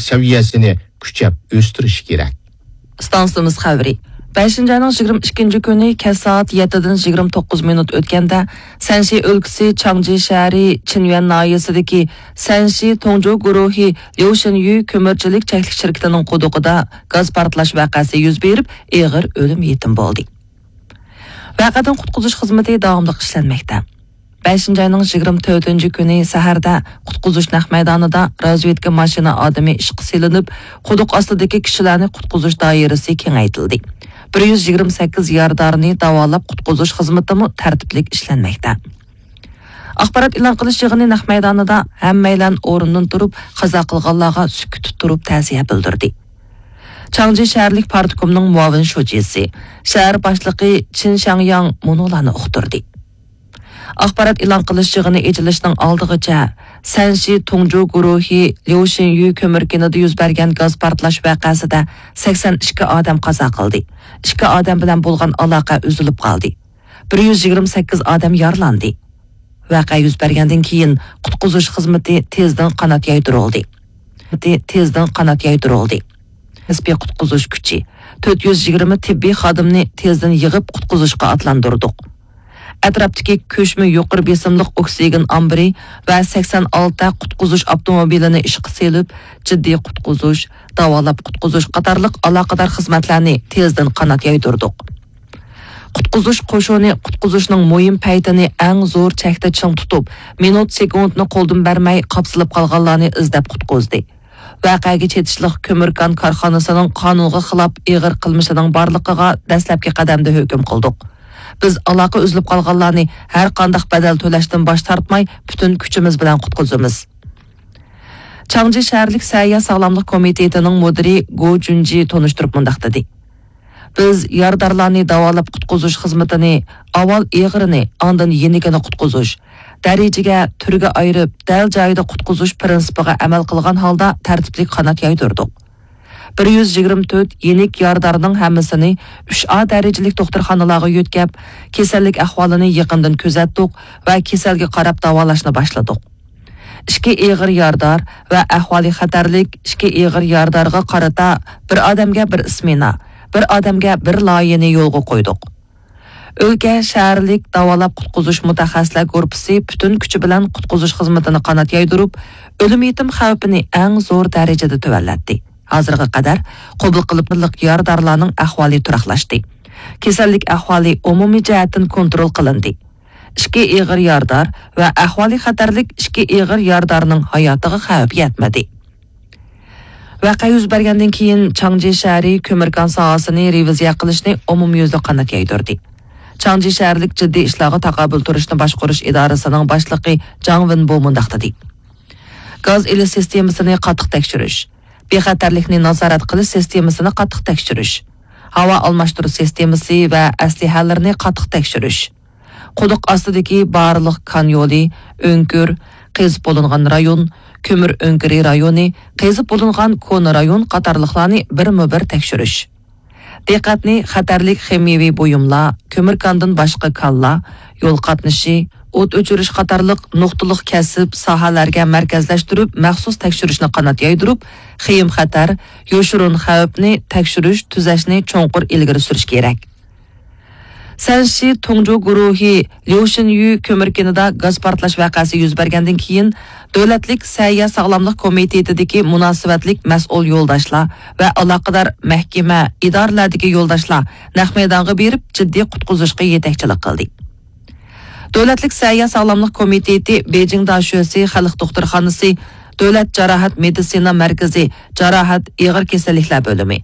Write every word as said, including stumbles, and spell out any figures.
سەۋىيەسىنى كۈچەپ ئۆستۈرۈشى كېرەك. ئىستانسىمىز خەۋىرى. بەشىنچى ئاينىڭ يىگىرمە ئىككىنچى كۈنى كەچ سائەت يەتتىدىن يىگىرمە توققۇز مىنۇت ئۆتكەندە، سەنشى ئۆلكىسى چاڭجى شەھىرى چىنيۈەن ناھىيەسىدىكى سەنشى تۇڭجۇ گۇرۇھى ليۇشىنيۈ كۆمۈرچىلىك چەكلىك شىركىتىنىڭ قۇدۇقىدا گاز پارتلاش ۋەقەسى يۈز بېرىپ، ئېغىر ئۆلۈم يېتىم بولدى. ۋەقەدىن قۇتقۇزۇش خىزمىتى داۋاملىق ئىشلەنمەكتە. بەشىنچى ئاينىڭ يىگىرمە تۆتىنچى كۈنى سەھەردە قۇتقۇزۇش نەق مەيدانىدا رازۋېدكا ماشىنا ئادىمى ئىشقا سېلىنىپ، قۇدۇق ئاستىدىكى كىشىلەرنى قۇتقۇزۇش دائىرىسى كېڭەيتىلدى. بىر يۈز يىگىرمە سەككىز يارىدارنى داۋالاپ قۇتقۇزۇش خىزمىتىمۇ تەرتىپلىك ئىشلەنمەكتە. ئاخبارات ئېلان قىلىش يىغىنى نەق مەيدانىدا ھەممەيلەن ئورنىدىن تۇرۇپ، قازا قىلغانلارغا سۈكۈتتە تۇرۇپ تەزىيە بىلدۈردى. چاڭجى شەھەرلىك پارتكومنىڭ مۇئاۋىن شۇجىسى، شەھەر باشلىقى چىن شاڭياڭ مۇنۇلارنى ئۇقتۇردى. ئاخبارات ئېلان قىلىش يىغىنى ئېچىلىشنىڭ ئالدىغىچە، سەنشى تۇڭجۇ گۇرۇھى ليۇشىنيۈ كۆمۈر كېنىدا يۈز بەرگەن گاز پارتلاش ۋەقەسىدە سەكسەن ئىككى ئادەم قازا قىلدى، ئىككى ئادەم بىلەن بولغان ئالاقە ئۈزۈلۈپ قالدى، بىر يۈز يىگىرمە سەككىز ئادەم يارىلاندى. ۋەقە يۈز بەرگەندىن كېيىن، قۇتقۇزۇش خىزمىتى تېزدىن قانات يايدۇرۇلدى. تېزدىن قانات يايدۇرۇلدى. نىسپىي قۇتقۇزۇش كۈچى، تۆت يۈز يىگىرمە تېببىي خادىمنى تېزدىن يىغىپ، قۇتقۇزۇشقا ئاتلاندۇردۇق. ئەتراپتىكى كۆچمە يۇقىرى بېسىملىق ئوكسىگېن ئامبىرى ۋە سەكسەن ئالتە قۇتقۇزۇش ئاپتوموبىلىنى ئىشقا سېلىپ، جىددىي قۇتقۇزۇش، داۋالاپ قۇتقۇزۇش قاتارلىق ئالاقىدار خىزمەتلەرنى تېزدىن قانات يايدۇردۇق. قۇتقۇزۇش قوشۇنى قۇتقۇزۇشنىڭ مۇھىم پەيتىنى ئەڭ زور چەكتە چىڭ تۇتۇپ، مىنۇت سېكۇنتنى قولدىن بەرمەي قاپسىلىپ قالغانلارنى ئىزدەپ قۇتقۇزدى. ۋەقەگە چېتىشلىق كۆمۈر كان كارخانىسىنىڭ قانۇنغا خىلاپ ئېغىر قىلمىشىنىڭ بارلىقىغا دەسلەپكى قەدەمدە ھۆكۈم قىلدۇق. بىز ئالاقە ئۈزۈلۈپ قالغانلارنى ھەر قانداق بەدەل تۆلەشتىن باش تارتماي، پۈتۈن كۈچىمىز بىلەن قۇتقۇزىمىز. چاڭجى شەھەرلىك سەھىيە ساغلاملىق كومىتېتىنىڭ مۇدىرى گو جۈنجى تونۇشتۇرۇپ مۇنداق دېدى: بىز يارىدارلارنى داۋالاپ قۇتقۇزۇش خىزمىتىنى ئاۋۋال ئېغىرىنى، ئاندىن يېنىكىنى قۇتقۇزۇش، دەرىجىگە، تۈرگە ئايرىپ، دەل جايىدا قۇتقۇزۇش پىرىنسىپىغا ئەمەل قىلغان ھالدا تەرتىپلىك قانات يايدۇردۇق. بىر يۈز يىگىرمە تۆت يېنىك يارىدارنىڭ ھەممىسىنى ئۈچ ئا دەرىجىلىك دوختۇرخانىلارغا يۆتكەپ، كېسەللىك ئەھۋالىنى يېقىندىن كۆزەتتۇق ۋە كېسەلگە قاراپ داۋالاشنى باشلىدۇق. ئىككى ئېغىر يارىدار ۋە ئەھۋالى خەتەرلىك ئىككى ئېغىر يارىدارغا قارىتا بىر ئادەمگە بىر ئىسمېنا، بىر ئادەمگە بىر لايىھەنى يولغا قويدۇق. ئۆلكە شەھەرلىك داۋالاپ قۇتقۇزۇش مۇتەخەسسىسلەر گۇرۇپپىسى پۈتۈن كۈچى بىلەن قۇتقۇزۇش خىزمىتىنى قانات يايدۇرۇپ، ئۆلۈم يېتىم خەۋپىنى ئەڭ زور دەرىجىدە تۆۋەنلەتتى. ھازىرغا قەدەر قوبۇل قىلىپ يارىدارلارنىڭ ئەھۋالى تۇراقلاشتى. كېسەللىك ئەھۋالى ئومۇمىي جەھەتتىن كونترول قىلىندى. ئىككى ئېغىر يارىدار ۋە ئەھۋالى خەتەرلىك ئىككى ئېغىر يارىدارنىڭ ھاياتىغا خەۋپ يەتمىدى. ۋەقە يۈز بەرگەندىن كېيىن، چاڭجى شەھىرى كۆمۈر كان ساھەسىنى رېۋىزىيە قىلىشنى ئومۇميۈزلۈك قانات يايدۇردى. چاڭجى شەھەرلىك جىددىي ئىشلارغا تاقابىل تۇرۇشنى باشقۇرۇش ئىدارىسىنىڭ باشلىقى جاڭ ۋېنبو مۇنداق دېدى: گاز ئېلىش سىستېمىسىنى قاتتىق تەكشۈرۈش، بىخەتەرلىكنى نازارەت قىلىش سىستېمىسىنى قاتتىق تەكشۈرۈش، ھاۋا ئالماشتۇرۇش سىستېمىسى ۋە ئەسلىھەلىرىنى قاتتىق تەكشۈرۈش، قۇدۇق ئاستىدىكى بارلىق كان يولى، ئۆڭكۈر، قېزىپ بولۇنغان رايون، كۆمۈر ئۆڭكۈرى رايونى، قېزىپ بولۇنغان كونا رايون قاتارلىقلارنى بىرمۇبىر تەكشۈرۈش. دىققەتنى خەتەرلىك خىمىيەۋى بۇيۇملار، كۆمۈر كاندىن باشقا كانلار، يول قاتنىشى، ئوت ئۆچۈرۈش قاتارلىق نۇقتىلىق كەسىپ، ساھەلەرگە مەركەزلەشتۈرۈپ، مەخسۇس تەكشۈرۈشنى قانات يايدۇرۇپ، خېيىم خەتەر، يوشۇرۇن خەۋپنى تەكشۈرۈش، تۈزەشنى چوڭقۇر ئىلگىرى سۈرۈش كېرەك. سەنشى تۇڭجۇ گۇرۇھى ليۇشىنيۈ كۆمۈر كېنىدا گاز پارتلاش ۋەقەسى يۈز بەرگەندىن كېيىن، دۆلەتلىك سەھىيە ساغلاملىق كومىتېتىدىكى مۇناسىۋەتلىك مەسئۇل يولداشلار ۋە ئالاقىدار مەھكىمە، ئىدارىلەردىكى يولداشلار نەق مەيدانغا بېرىپ، جىددىي قۇتقۇزۇشقا يېتەكچىلىك قىلدى. دۆلەتلىك سەھىيە ساغلاملىق كومىتېتى بېيجىڭ داشۆسى خەلق دوختۇرخانىسى، دۆلەت جاراھەت مېدىتسىنا مەركىزى جاراھەت ئېغىر كېسەللىكلەر بۆلۈمى،